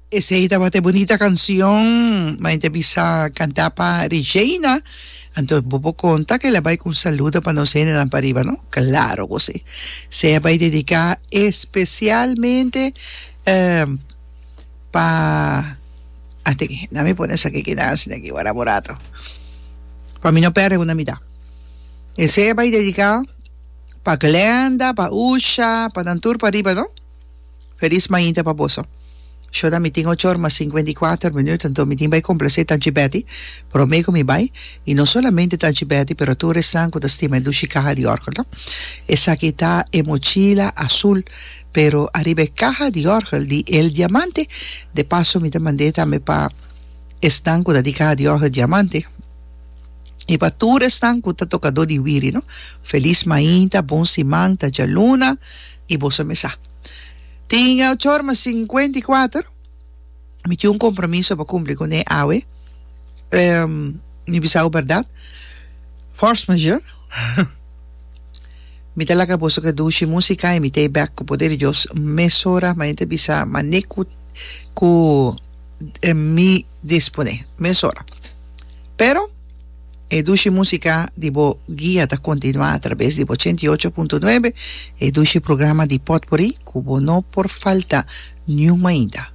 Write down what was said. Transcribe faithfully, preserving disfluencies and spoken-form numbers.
Esei tabata bunita kanshon, ma bisa kantá pa Regina. Anto, bo por konta ku el a bai ku un saludo pa nos hendenan pariba, no? Klaro ku sí. E a bai dediká espesialmente eh, pa. Ate, no mi pone esaki aki na aki, wara burato. Pa mi no pèrdè una mitat. Esei a bai dediká pa Glenda, pa Usha, pa nan tur pariba, no? Felis mainta pa boso. Shona, mi tin ocho or mas sinkuenta i kuater minüt, anto mi tin bai komplasé Tanchi Betty, promé ku mi bai, i no solamente Tanchi Betty, pero tur esnan ku ta stima dushi kaha di òrgel, no? Esaki ta e mochila azul, pero ariba kaha di òrgel di El Diamante. De paso, mi ta mand'é tambe pa esnan ku ta di kaha di òrgel Diamante. I pa tur esnan ku ta tokadó di wiri, no? Felis mainta, bon siman, ta djaluna, i boso mes sa. Tin ocho or mas sinkuenta i kuater. Mi tin un kompromiso pa kumpli kuné awe. Um, mi bisa bèrdat. Force majeure. Mi ta laga boso ku dushi músika i mi t'ei bèk ku poder di Dios mesora, ma ta bisa mane ku ku eh, mi disponé mesora. Pero e dushi músika di bo guia ta kontinuá atraves di ochenta i ocho punto nuebe, e dushi programa di Potpourri, ku bo no por falta niun mainta.